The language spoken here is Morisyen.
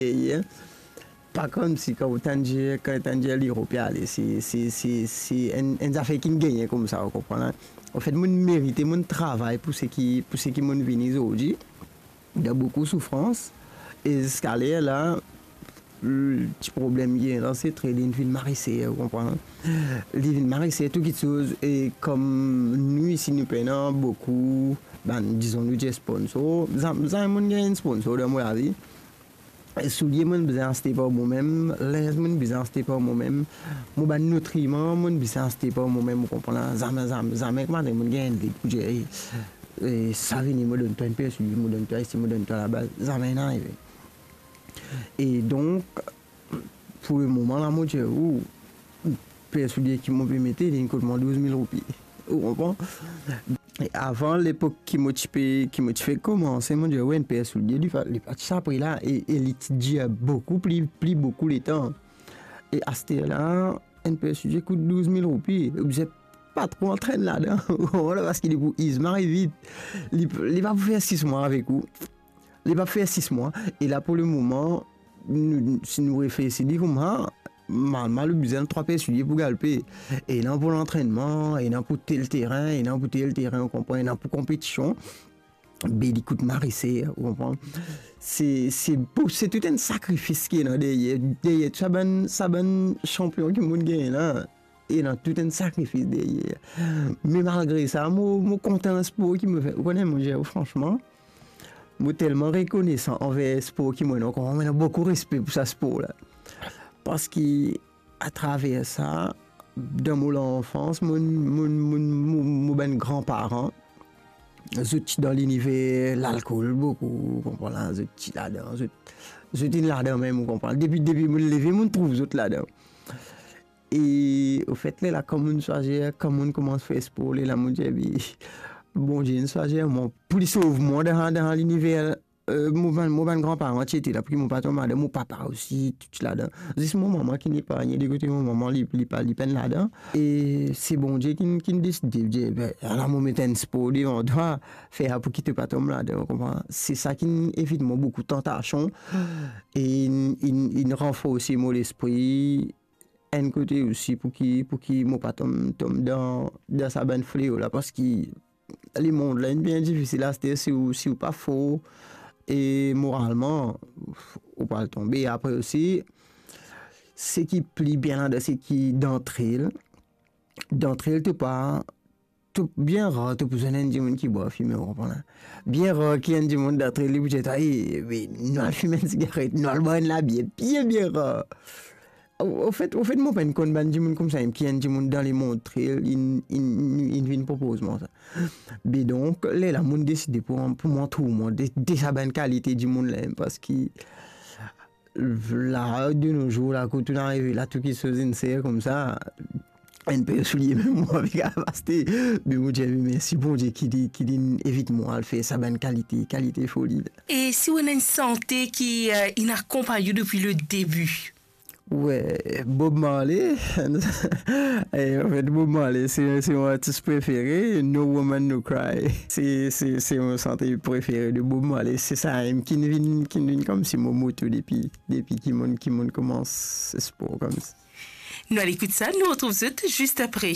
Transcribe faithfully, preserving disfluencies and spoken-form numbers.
Ye, ye. Pa koumsi kan ou tann dir, kan ou tann dir li ropi ale, se, se, se, se enn, enn zafer ki'nn gagne koumsa, ou konpran la. Anfet, mo'nn merite, mo'nn travay pou seki, pou seki mo'nn vini zordi, dan boukou soufrans, e ziska ler la, l-, ti problem ki ena, se tre li'nn vinn mari ser, ou konpran? Li vinn mari ser tou kitsoz, e kom nou isi, nou pena boukou, bann, dizon, nou dir sponsor, zam-, zame mo'nn gagn enn sponsor dan mo lavi. Soulie mo'nn bizin aste par momem, linz mo'nn bizin aste par momem, mo bann nitriman mo'nn bizin aste par momem, ou konpran la? Zame, zame, zame kouma mo'nn gagn enn lig pou dir, e, e, sa vini, mo donn twa enn per soulie, mo donn twa isi, mo donn twa laba, zame ena arive. E donk, pou lemoman la, mo dir ou, per soulie ki mo pe mete, li'nn kot mwa douz mil roupi. Ou konpran? E avan, lepok ki mo ti pe, ki mo ti fek koumanse, mo dir, wi, enn per soulie, li pa, li pa ti sa pri la, e, e li ti dir boukou pli, pli boukou letan. E aster la, enn per soulie kout douz mil roupi, ou bizin pa tro antrenn ladan, ou konpran, parski li pou izi mari vit. Li, li pa pou fer sis mwa avek ou. Li pa fer sis mwa. E la, pou lemoman, nou, si nou reflesi li koumsa, mal, mal ou bizin trwa per soulie pou galpe. Ena pou lantrennman, ena pou tel terin, ena pou tel terin, ou konpran, ena pou konpetision. Be li kout mari ser, ou konpran. Se, se pou, se tou enn sakrifis ki ena deryer, deryer tou sa bann, sa bann sanpion ki mo'nn gagn la. Ena tou enn sakrifis deryer. Me malgre sa, mo, mo kontan spor ki mo fer. Ou kone, mo dir ou fransman, mo telman rekonesan anver spor ki mo ena, ou konpran, mo ena boukou respe pou sa spor la. Parski atraver sa, dan mo lanfans, mo, mo, mo, mo, mo bann granparan, zot ti dan liniver lalkol boukou, ou konpran la, zot ti ladan, zot, zot inn ladan mem, ou konpran. Depi, depi mo'nn leve, mo'nn trouv zot ladan. E, ofet, lerla, kan mo'nn swazir, kan mo'nn koumans fer spor, lerla, mo'nn dir, be, Bondie inn swazir mwa pou li sov mwa dan, dan liniver, e, mo bann, mo bann granparan ti ete la, pou ki mo pa tom ladan, mo papa osi, tou ti ladan. Zis mo mama ki'nn epargne, de kote mo mama, li, li pa, li pa'nn ladan. E se Bondie ki'nn, ki'nn deside, dir, be, ala mo met enn spor devan twa, fer sa pou ki to pa tom ladan, ou konpran? Se sa ki'nn evit mwa boukou tantasion, e inn, inn, inn ranforse mo lespri, enn kote osi pou ki, pou ki mo pa tom, tom dan, dan sa bann fleo la, parski lemond la inn bien difisil aster, si ou, si ou pa for, e moralman, ou pral tonbe. Apre osi, seki pli bien ladan, seki dantrel, dantrel to pa, to, bien rar to pou zwenn enn dimoun ki bwar fime, ou konpran la. Bien rar ki enn dimoun dantrel li pou dir twa, e, me nou al fim enn sigaret, nou al bwar enn labier, bien, bien rar. Ofet, ofet, mo pa'nn konn bann dimoun koumsa, ki enn dimoun dan lemond trel, inn, inn, inn, inn vinn propoz mwa sa. Be donk, lerla mo'nn deside pou, pou mo antour mwa de, de sa bann kalite dimoun la, parski la, de nos jours la, kot to'nn arive la, tou kitsoz inn ser koumsa, enn per soulie mem mo pa pe kapav aste. Me mo dir, me mersi Bondie ki li, ki li'nn evit mwa al fer sa bann kalite, kalite foli la. E si ou ena enn sante ki, e, inn akonpagn ou depi le debi? We, Bob Marley. E, anfet, Bob Marley, se, se mo artis prefere, No Woman, No Cry. Se, se, se mo sante prefere de Bob Marley. Se sa mem ki'nn vinn, ki'nn vinn koumsi mo moto depi, depi ki mo'nn, ki mo'nn koumans spor koumsa. Nou al ekout sa, nou retrouv zot zis apre.